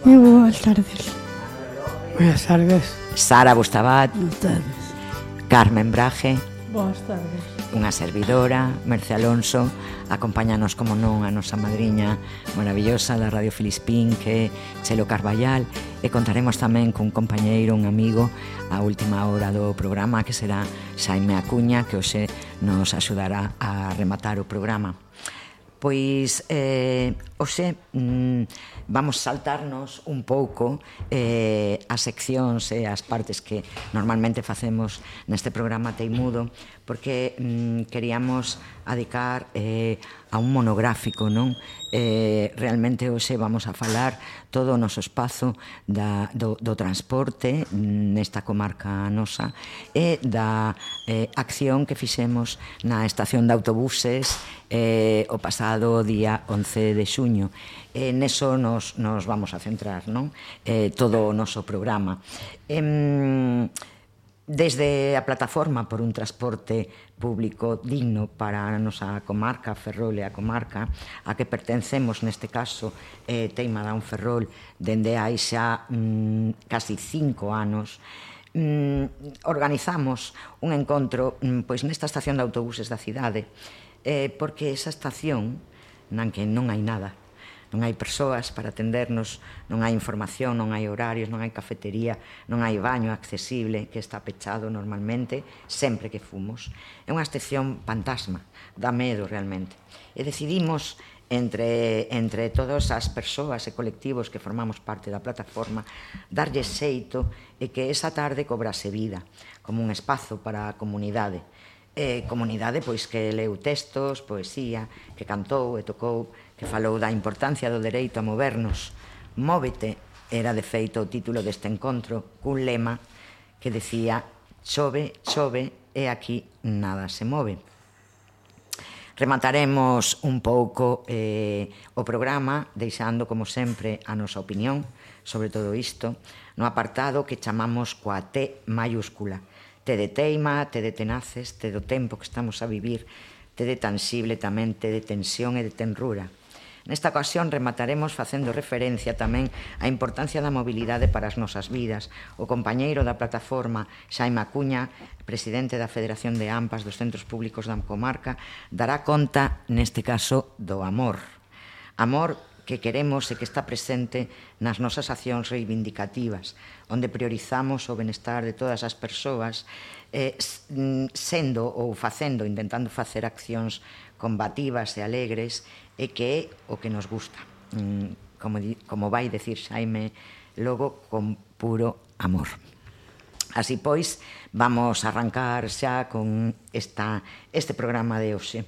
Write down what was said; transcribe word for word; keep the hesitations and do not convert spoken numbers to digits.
Moi boas tardes. Buenas tardes. Sara Bustabat. Buenas tardes. Carmen Braje. Boas tardes. Unha servidora, Merce Alonso. Acompáñanos, como non, a nosa madriña maravillosa da Radio Filispín, que é Chelo Carballal. E contaremos tamén cun compañeiro, un amigo, a última hora do programa, que será Xaime Acuña, que hoxe nos axudará a rematar o programa. Pois, eh, hoxe, mm, vamos saltarnos un pouco eh, as seccións e as partes que normalmente facemos neste programa Teimudo, porque mm, queríamos adicar eh, a un monográfico, non? Eh, realmente hoxe vamos a falar todo o noso espazo da, do, do transporte nesta comarca nosa e da eh, acción que fixemos na estación de autobuses eh, o pasado día once de xuño. E neso nos, nos vamos a centrar, non? Eh, todo o noso programa. Eh, Desde a plataforma por un transporte público digno para a nosa comarca, Ferrol e a comarca a que pertencemos, neste caso, eh, Teima da un Ferrol, dende hai xa mm, casi cinco anos, mm, organizamos un encontro mm, pois nesta estación de autobuses da cidade, eh, porque esa estación, nan que non hai nada, non hai persoas para atendernos, non hai información, non hai horarios, non hai cafetería, non hai baño accesible, que está pechado normalmente, sempre que fomos. É unha estación fantasma, dá medo realmente. E decidimos, entre, entre todas as persoas e colectivos que formamos parte da plataforma, darlle xeito e que esa tarde cobrase vida, como un espazo para a comunidade. Eh, comunidade pois que leu textos, poesía, que cantou e tocou, que falou da importancia do dereito a movernos. Móvete era de feito o título deste encontro, cun lema que decía: chove, chove e aquí nada se move. Remataremos un pouco eh, o programa deixando, como sempre, a nosa opinión sobre todo isto no apartado que chamamos coa T mayúscula. T de teima, T de tenaces, T do tempo que estamos a vivir, T de tansible tamén, T de tensión e de tenrura. Nesta ocasión remataremos facendo referencia tamén á importancia da mobilidade para as nosas vidas. O compañeiro da plataforma, Xaime Acuña, presidente da Federación de AMPAs dos Centros Públicos da Comarca, dará conta, neste caso, do amor. Amor que queremos e que está presente nas nosas accións reivindicativas, onde priorizamos o benestar de todas as persoas, eh, sendo ou facendo, intentando facer accións combativas e alegres, e que é o que nos gusta. Como, como vai decir Xaime logo, con puro amor. Así pois, vamos a arrancar xa con esta, este programa de hoxe.